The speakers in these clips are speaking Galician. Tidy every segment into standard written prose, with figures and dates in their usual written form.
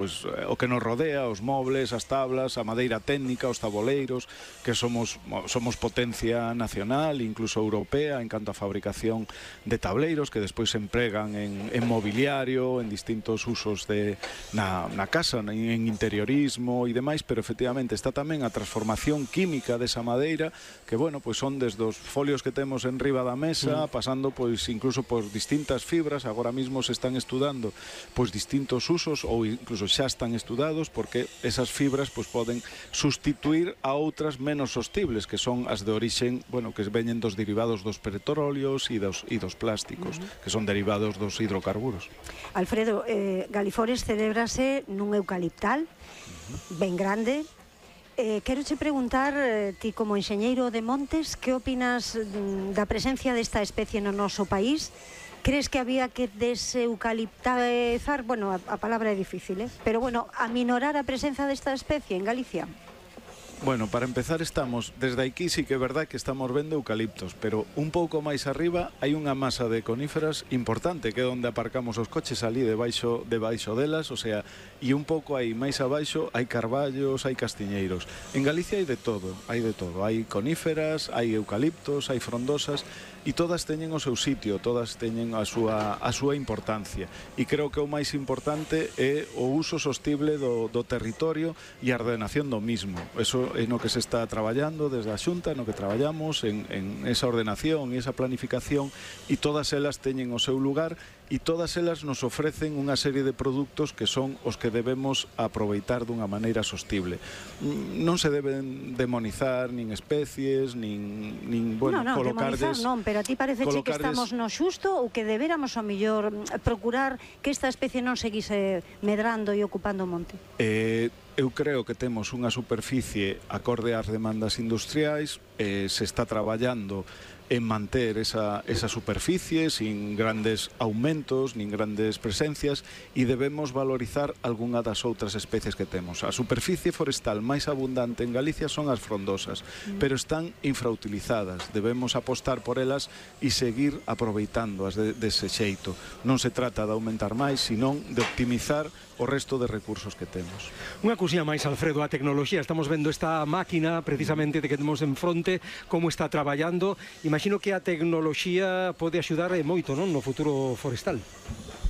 pois, o que nos rodea, os mobles, as tablas, a madeira técnica, os taboleiros, que somos potencia nacional, incluso europea, en canto a fabricación de tableiros, que despois se empregan en mobiliario, en distintos usos na casa, en interiorismo e demais, pero efectivamente está tamén a transformación química desa madeira, que, bueno, pois son desde os folios que temos en riba da mesa, pasando, pois, incluso por distintas fibras. Agora mismo se están estudando, pois, distintos usos, ou incluso xa están estudados, porque esas fibras pois poden sustituir a outras menos sostibles, que son as de orixen, bueno, que veñen dos derivados dos petróleos e dos plásticos, que son derivados dos hidrocarburos. Alfredo, Galiforest celébrase nun eucaliptal ben grande. Quero che preguntar, ti como enxeñeiro de montes, que opinas da presencia desta especie no noso país? Crees que había que deseucaliptizar? Bueno, a palabra é difícil, pero bueno, aminorar a presenza desta especie en Galicia? Bueno, para empezar estamos, desde aquí sí que é verdad que estamos vendo eucaliptos, pero un pouco máis arriba hai unha masa de coníferas importante, que é onde aparcamos os coches ali debaixo delas, o sea, e un pouco aí máis abaixo hai carballos, hai castiñeiros. En Galicia hai de todo, hai coníferas, hai eucaliptos, hai frondosas, e todas teñen o seu sitio, todas teñen a súa importancia, e creo que o máis importante é o uso sostible do territorio e a ordenación do mismo. Eso é no que se está traballando desde a Xunta, no que traballamos en esa ordenación e esa planificación, e todas elas teñen o seu lugar, e todas elas nos ofrecen unha serie de produtos que son os que debemos aproveitar dunha maneira sostible. Non se deben demonizar nin especies, nin bueno, colocarles... Non, pero a ti parece que estamos no xusto, ou que deberamos ao mellor procurar que esta especie non seguise medrando e ocupando o monte? Eu creo que temos unha superficie acorde ás demandas industriais, se está traballando en manter esa superficie sin grandes aumentos, nin grandes presencias, e debemos valorizar algunha das outras especies que temos. A superficie forestal máis abundante en Galicia son as frondosas, pero están infrautilizadas. Debemos apostar por elas e seguir aproveitándoas dese xeito. Non se trata de aumentar máis, senón de optimizar o resto de recursos que temos. Unha cousinha máis, Alfredo, a tecnoloxía. Estamos vendo esta máquina, precisamente, de que temos en fronte, como está traballando. Imagino que a tecnoloxía pode axudar moito, non, no futuro forestal.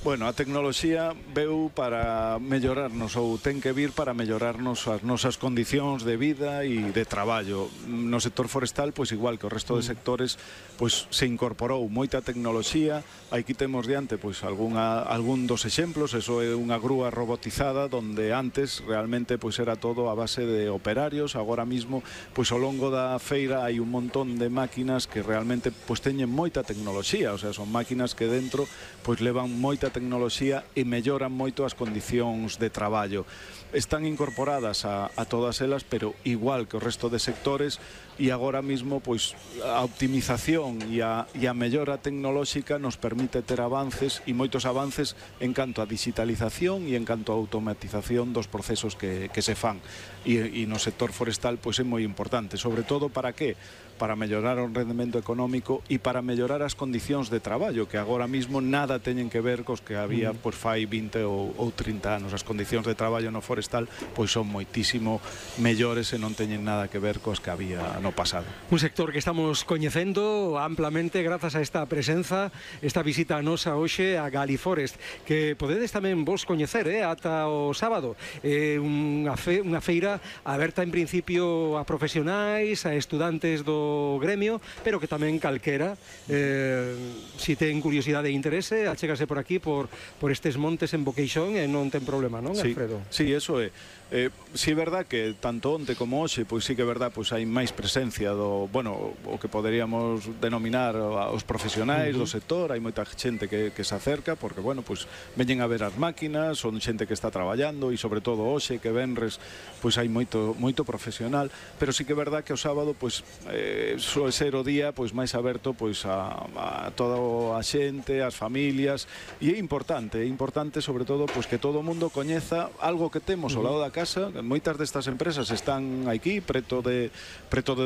Bueno, a tecnoloxía veu para mellorarnos, ou ten que vir para mellorarnos as nosas condicións de vida e de traballo. No sector forestal, pois igual que o resto de sectores, pois se incorporou moita tecnoloxía. Aquí temos diante pois algún dos exemplos. Eso é unha grúa robotizada, donde antes realmente pois era todo a base de operarios. Agora mismo, pois ao longo da feira hai un montón de máquinas que realmente pois teñen moita tecnoloxía, o sea, son máquinas que dentro pois levan moita tecnoloxía e melloran moito as condicións de traballo. Están incorporadas a todas elas, pero igual que o resto de sectores, e agora mismo pois a optimización e a mellora tecnolóxica nos permite ter avances, e moitos avances en canto a digitalización e en canto a automatización dos procesos que se fan. E no sector forestal pois é moi importante, sobre todo para que? Para mellorar o rendemento económico e para mellorar as condicións de traballo, que agora mismo nada teñen que ver cos que había pois fai 20 ou 30 anos. As condicións de traballo no forestal pois son moitísimo mellores e non teñen nada que ver cos que había no pasado. Un sector que estamos coñecendo amplamente grazas a esta presenza, esta visita a nosa hoxe a Galiforest, que podedes tamén vos coñecer ata o sábado. Unha feira aberta en principio a profesionais, a estudantes do gremio, pero que tamén calquera, si ten curiosidade e interese, achégase por aquí, por estes montes en Boqueixón, e non ten problema, non, Alfredo? Sí, eso é. Si é verdad que tanto onte como hoxe, pois sí que é verdad, pois hai máis presencia do, bueno, o que poderíamos denominar os profesionais do sector. Hai moita xente que se acerca, porque, bueno, pois veñen a ver as máquinas, son xente que está traballando, e sobre todo hoxe, que venres, pois hai moito profesional, pero sí que é verdad que o sábado, pois, suele ser o día pois máis aberto pois a toda a xente, as familias, e é importante sobre todo pois que todo o mundo coñeza algo que temos ao lado da casa. Moitas destas empresas están aquí preto de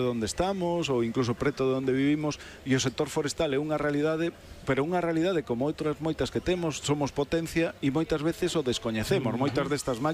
onde estamos, ou incluso preto de onde vivimos, e o sector forestal é unha realidade, pero unha realidade como outras moitas que temos. Somos potencia e moitas veces o descoñecemos. Moitas destas máquinas